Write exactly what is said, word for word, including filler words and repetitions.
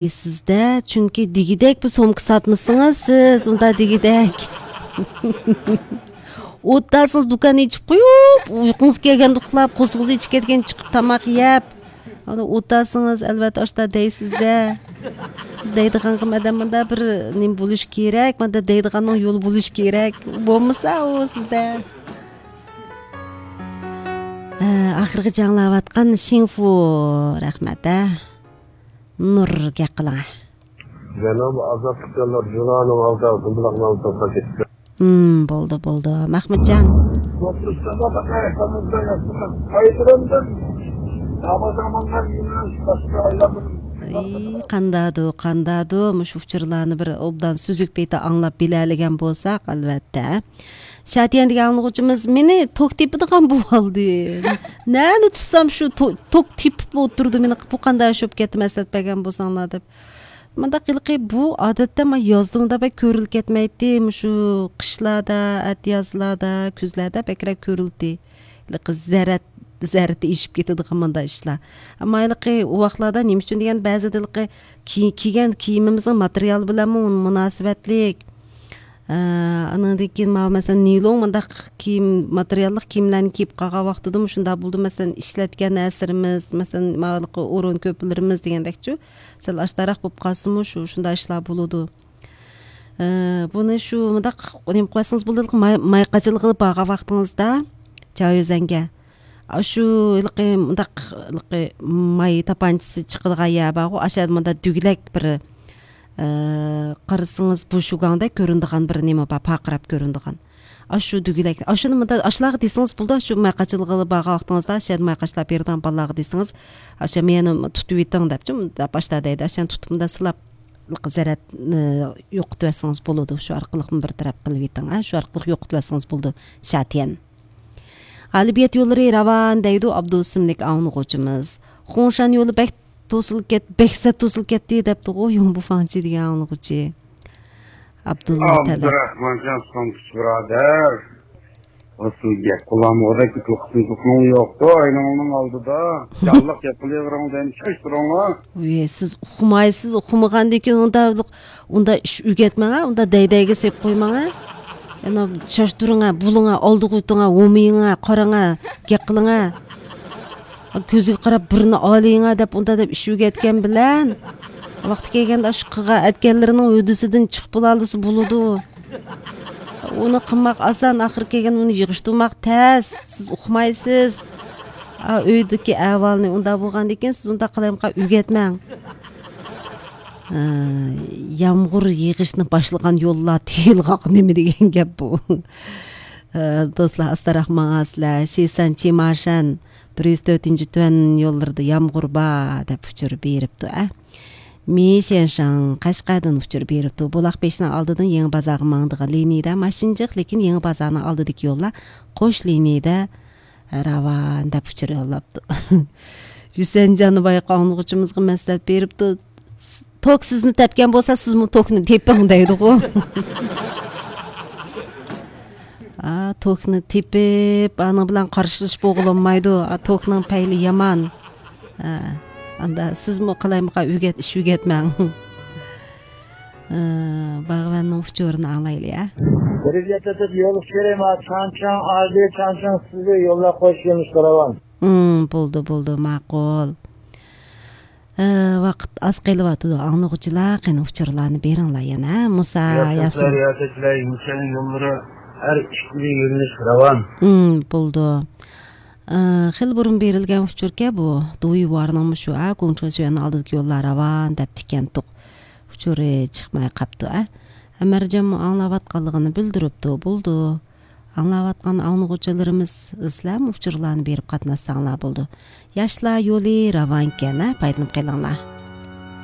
سىزدە، چۈنكى دېگۈدەك بىر سومكا ساتمىسىڭىز سىز، ئۇندا دېگۈدەك. ئوتتاسىڭىز دۇكان ئېچىپ قويۇپ، ئۇيقۇڭىز كەلگەندە ئۇخلاپ، قورسىقىڭىز ئېچىپ كەتكەن چىقىپ تاماق يەپ، ئانا ئوتتاسىڭىز، ئەلۋەتتە، ئاشتا دەيسىزدە. دەيدىغانغا مادام مۇندا بىر نېمە بولۇش كېرەك، مۇندا دەيدىغاننىڭ يولى بولۇش كېرەك. بولمىسا ئۇ سىزدە. ھە، ئاخىرغىچە ئاڭلاۋاتقان شىڭفۇ، رەھمەت، ھە. نۇر، گەپ قىلىڭ. جانابى ئازادلىق يوللار ژۇرنالىنىڭ ئالدىدا گۇمراھنى ئالدىغا كەتتى. ھىم، بولدى، بولدى. مەخمۇتجان. ئەي، قاندادۇ، قاندادۇ، مۇشۇ ئۇچۇرلارنى بىر ئوبدان سۈزۈك پېتى ئاڭلاپ بىلەلىگەن بولساق، ئەلۋەتتە. شاتىيەن دېگەن ئاڭلىغۇچىمىز مېنى توك تېپىدىغان بولۇۋالدى. نەنى تۇتسام شۇ تو-، توك تېپىپ ئولتۇرىدۇ مېنى، بۇ قانداق شۇ گەپنى مەسلىھەت بەرگەن بولساڭلار دەپ. مۇنداق ھېلىقى بۇ ئادەتتە مانا يازدا مۇنداق بەك كۆرۈلۈپ كەتمەيتتى، مۇشۇ قىشلاردا، ئەتىيازلاردا، كۈزلەردە بەكرەك كۆرۈلدى. ھېلىقى زەرەت، زەرىتى ئېشىپ كېتىدىغان مۇنداق ئىشلار. ئەمما ھېلىقى ئۇ ۋاقىتلاردا نېمە ئۈچۈن دېگەن بەزىدە ھېلىقى كىي-، كىيگەن كىيىمىمىزنىڭ ماتېرىيالى بىلەنمۇ مۇناسىۋەتلىك. ئە، ئانىڭدىن كېيىن ماۋۇ مەسىلەن نىلون مۇنداق كىيىم، ماتېرىياللىق كىيىملەرنى كىيىپ قالغان ۋاقتىدىمۇ شۇنداق بولىدۇ. مەسىلەن ئىشلەتكەن نەرسىلىرىمىز، مەسىلەن ماۋۇ ئورۇن كۆپلىرىمىز دېگەندەكچۇ، سەل ئاشتاراق بولۇپ قالسىمۇ شۇ، شۇنداق ئىشلار بولىدۇ. ئە، بۇنى شۇ مۇنداق نېمە قىلىۋەتسىڭىز بولىدۇ، ماي، ماي قاچىلىقىغا بارغان ۋاقتىڭىزدا، چاۋيۈزەنگە. ئاشۇ ھېلىقى مۇنداق، ھېلىقى ماي تاپانچىسى چىقىدىغان يەر بارغۇ، ئاشۇ يەردە مۇنداق دۈگىلەك بىر، ئە، قارىسىڭىز بۇشۇگاڭدەك كۆرۈنىدىغان بىر نېمە بار، پارقىراپ كۆرۈنىدىغان. ئاشۇ دۈگىلەك، ئاشۇنى مۇنداق، ئاشۇلارغا دېسىڭىز بولىدۇ، شۇ ماي قاچىلىقىغا بارغان ۋاقتىڭىزدا، ئاشۇ يەردە ماي قاچىلاپ بېرىدىغان بالىلارغا دېسىڭىز، ئاشۇ مېنى تۇتۇۋېتىڭ دەپچۇ، مۇنداق باشتا دەيدۇ، ئاشۇنى تۇتۇپ مۇنداق سىلاپ، زەرەتنى يوقىتىۋەتسىڭىز بولىدۇ، شۇ ئارقىلىقمۇ بىر تەرەپ قىلىۋېتىڭ، ھە، شۇ ئارقىلىق يوقىتىۋەتسىڭىز بولىدۇ، شاتيەن. غالىبىيەت يوللىرى راۋان دەيدۇ ئابدۇ ئىسىملىك ئاڭلىغۇچىمىز. خۇڭشان يولى بەك توسۇلۇپ كەت-، بەك سەت توسۇلۇپ كەتتى دەپتىغۇ يۇڭبۇفاڭچى دېگەن ئاڭلىغۇچى. ئابدۇللا تەلەت. ئابدۇراخمانجان سومكىچى بۇرادەر. ئۇ سىز گەپ قىلالمىغۇدەك قىلىقسىز توكنىڭ يوقتۇ، ئاينىڭنىڭ ئالدىدا. جانلىق گەپ قىلىۋېرىڭ دەيمەن، چاچتۇرۇڭلار. ۋى، سىز ئۇقمايسىز، ئۇقمىغاندىن كېيىن ئۇندا، ئۇندا ئىش ئۆگەتمەڭ، ئۇندا دەيدەيگە سېلىپ قويماڭ. يەنە چاچتۇرۇڭ، بۇلۇڭ، ئالدىغا ئۆتۈڭ، ھومىيىڭ، قاراڭ، گەپ قىلىڭ. كۆزىگە قاراپ بىرنى ئالىيىڭ دەپ، ئۇندا دەپ ئىش ئۆگەتكەن بىلەن، ۋاقتى كەلگەندە ئاشۇ قىلغان ئەتكەنلىرىنىڭ ھۆددىسىدىن چىقىپ بولالىسا بولىدۇ. ئۇنى قىلماق ئاسان، ئاخىرى كەلگەندە ئۇنى يىغىشتۇرماق تەس. سىز ئۇقمايسىز. ئا، ئۆيدىكى ئەھۋالنى ئۇنداق بولغاندىن كېيىن سىز ئۇنداق قىلايمىقان ئۆگەتمەڭ. ئە، يامغۇر يېغىشنى باشلىغان يوللار تېيىلغاق نېمە دېگەن گەپ بۇ؟ ئە، دوستلار، ئاستاراق ماڭاسىلەر. شىسەن، چىماشەن، بىر يۈز تۆتىنچى تۈەن يوللىرىدا يامغۇر بار دەپ ئۇچۇر بېرىپتۇ، ئە. مى شيەنشاڭ قەشقەردىن ئۇچۇر بېرىپتۇ. بۇلاق بېشىنىڭ ئالدىدىن يېڭى بازارغا ماڭىدىغان لىنىيىدە ماشىنا جىق، لېكىن يېڭى بازارنىڭ ئالدىدىكى يوللار قوش لىنىيىدە راۋان دەپ ئۇچۇر يوللاپتۇ. ھۈسەنجان بايقا ئاڭلىغۇچىمىزغا مەسلىھەت بېرىپتۇ. توك سىزنى تەپكەن بولسا، سىزمۇ توكنى تېپىڭ دەيدىغۇ. ئا، توكنى تېپىپ، ئانىڭ بىلەن قارشىلىشىپ بولغىلىمايدۇ. ئا، توكنىڭ پەيلى يامان. ئا، ئاندا سىزمۇ قالايمىقان ئۆگەت-، ئىش ئۆگەتمەڭ. ئا، باغۋەننىڭ ئۇچۇرىنى ئاڭلايلى، ئە. بىرىگە تېتىپ يول كېرەيما، چاڭچاڭ، ئادى، چاڭچاڭ، سىزگە يوللار قوش يولنى سوراۋان. ھىم، بولدى، بولدى، ماقۇل. ئە، ۋاقىت ئاز قېلىۋاتىدۇ. ئاڭلىغۇچىلار، قېنى ئۇچۇرلارنى بېرىڭلار يەنە. مۇسا ياسىن. رىياسەتچىلەر، يۈسەن يوللىرى ھەر ئىككىلا يۆنىلىش راۋان. ھىم، بولدى. ئە، خېلى بۇرۇن بېرىلگەن ئۇچۇركەن بۇ. دۇيۋارنىڭمۇ شۇ، ئە، گۇڭچىڭشۈەننىڭ ئالدىدىكى يوللار راۋان دەپتىكەنتۇق. ئۇچۇرى چىقماي قاپتۇ، ئە. ئەمەرجانمۇ ئاڭلاۋاتقانلىقىنى بىلدۈرۈپتۇ. بولدى. ئاڭلاۋاتقان ئاڭلىغۇچىلىرىمىز، سىلەرمۇ ئۇچۇرلارنى بېرىپ قاتناشساڭلار بولىدۇ. ياشلار يولى راۋانكەن، ھە، پايدىلىنىپ قېلىڭلار.